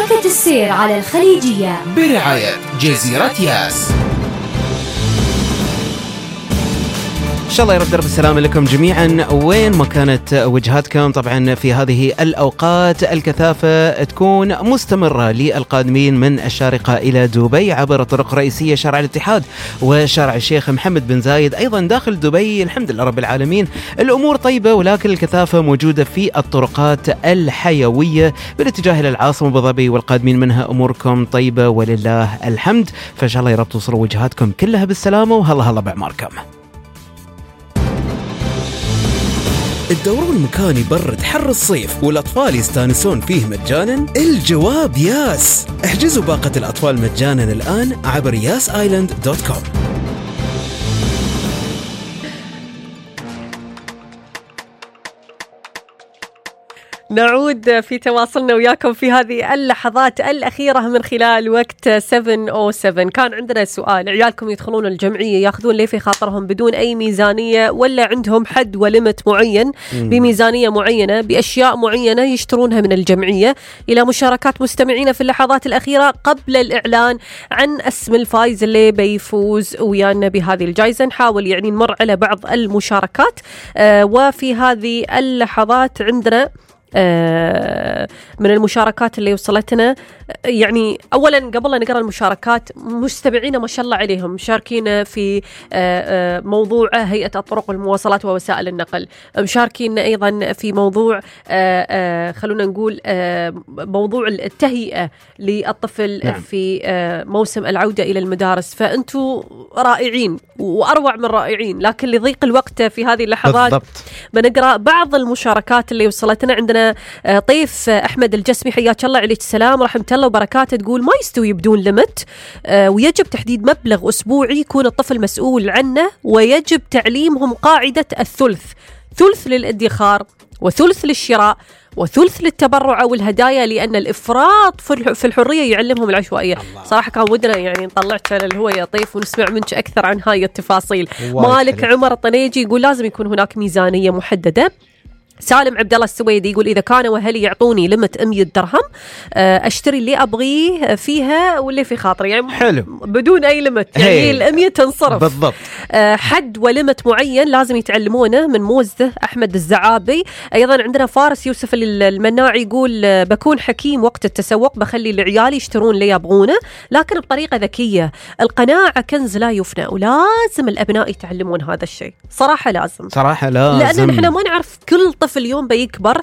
شبكة السير على الخليجية برعاية جزيرة ياس. إن شاء الله يرد درب السلام لكم جميعا وين ما كانت وجهاتكم. طبعا في هذه الأوقات الكثافة تكون مستمرة للقادمين من الشارقة إلى دبي عبر طرق رئيسية شارع الاتحاد وشارع الشيخ محمد بن زايد. أيضا داخل دبي الحمد لله رب العالمين الأمور طيبة، ولكن الكثافة موجودة في الطرقات الحيوية بالاتجاه إلى العاصمة أبو ظبي والقادمين منها أموركم طيبة ولله الحمد. فإن شاء الله يرب توصلوا وجهاتكم كلها بالسلامة وهلا بعماركم. الدورون المكان يبرد حر الصيف والأطفال يستانسون فيه مجانا؟ الجواب ياس. احجزوا باقة الأطفال مجانا الآن عبر yasisland.com. نعود في تواصلنا وياكم في هذه اللحظات الأخيرة من خلال وقت 7:07. كان عندنا سؤال: عيالكم يدخلون الجمعية ياخذون ليه في خاطرهم بدون أي ميزانية، ولا عندهم حد وليمت معين بميزانية معينة بأشياء معينة يشترونها من الجمعية؟ إلى مشاركات مستمعين في اللحظات الأخيرة قبل الإعلان عن اسم الفائز اللي بيفوز ويانا بهذه الجائزة. نحاول يعني نمر على بعض المشاركات وفي هذه اللحظات عندنا من المشاركات اللي وصلتنا. يعني أولا قبل لا نقرأ المشاركات، مستمعين ما شاء الله عليهم مشاركين في موضوع هيئة الطرق والمواصلات ووسائل النقل، مشاركين أيضا في موضوع خلونا نقول موضوع التهيئة للطفل في موسم العودة إلى المدارس. فأنتوا رائعين وأروع من رائعين، لكن لضيق الوقت في هذه اللحظات بنقرأ بعض المشاركات اللي وصلتنا. عندنا طيف أحمد الجسمي، حياك الله، عليك السلام ورحمة الله وبركاته. تقول ما يستوي بدون ليمت، ويجب تحديد مبلغ أسبوعي يكون الطفل مسؤول عنه، ويجب تعليمهم قاعدة الثلث: ثلث للادخار وثلث للشراء وثلث للتبرع أو الهدايا، لأن الإفراط في الحرية يعلمهم العشوائية. صراحة كان ودنا يعني نطلعك على الهواء يا طيف ونسمع منك أكثر عن هاي التفاصيل. مالك عمر الطنيجي يقول لازم يكون هناك ميزانية محددة. سالم عبد الله السويدي يقول إذا كانوا أهلي يعطوني لمت 100 درهم أشتري اللي أبغيه فيها واللي في خاطري، يعني حلو بدون أي لمت، يعني 100 تنصرف بالضبط. حد ولمت معين لازم يتعلمونه من موزة أحمد الزعابي. أيضا عندنا فارس يوسف المناعي يقول بكون حكيم وقت التسوق، بخلي العيال يشترون اللي يبغونه لكن بطريقة ذكية. القناعة كنز لا يفنى، ولازم الأبناء يتعلمون هذا الشيء. صراحة لازم، لأن نحن ما نعرف كل طفل يوم بيكبر